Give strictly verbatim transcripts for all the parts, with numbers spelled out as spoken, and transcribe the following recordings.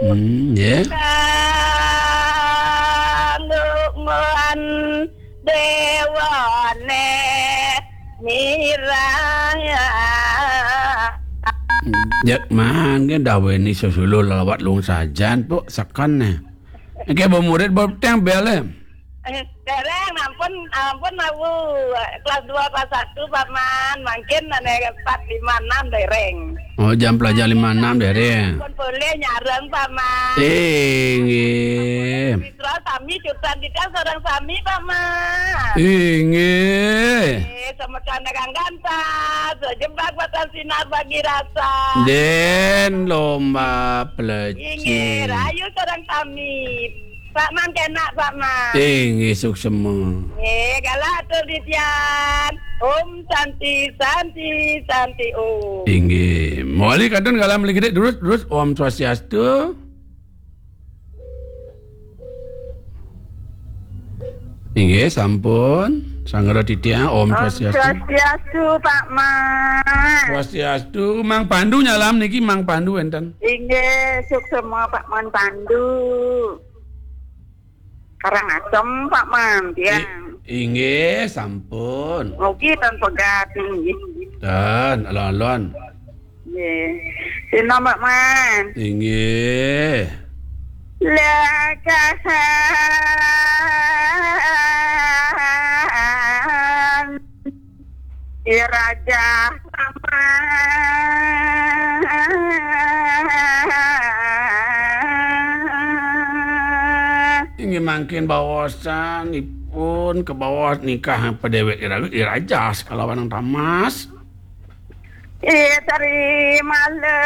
Hmm, nggih. Kanggo muan dewane mirah. Jek mangke daweni sesuluh lawat lung sajan, Puk, seken ne. Nggih, Bu Murid, Bu Teng bele. Eh, dereng, ampun, ampun, aku kelas dua, kelas satu, Paman. Mungkin ane empat, lima, enam dereng. Oh, jam pelajar lima enam dereng. Ampun, boleh nyareng, Paman. Inggih. Mitra sami, jurusan kita seorang sami, Paman. Inggih. Eh, sama kandang gantah, sejebak batang sinar bagi rasa. Den lomba peleci. Inggih, rayu seorang sami. Pak Man kenak, Pak Man. Inggih, suksema. Nggih, galah atur titiang. Om Santi, Santi, Santi Om. Inggih. Mawali kantun galah mriki terus, terus Om Swastiastu. Inggih, sampun. Sanggara titiang, Om Om Swastiastu. Swastiastu, Pak Man. Swastiastu, Mang Pandu nyalam niki, Mang Pandu enten. Inggih, suksema Pak Man Pandu. Karangasem, Pak Man, tiang. I-, inggih, sampun. Mugi tan pegat, inggih. Tan, alon-alon. Nggih. Sina, Pak Man. Inggih. Lekahan. I Raja Paman. Inggih mangkin baosan ipun kebaos nikah pedewek ira-, iraja sekalawan Tamas. I Teri Malem.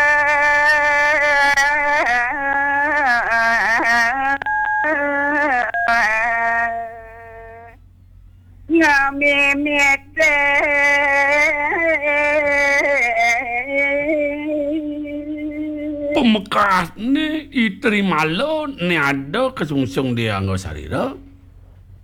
Ngamimite. Pamekasne I Trimala ne ada kasungsung di angga sarira.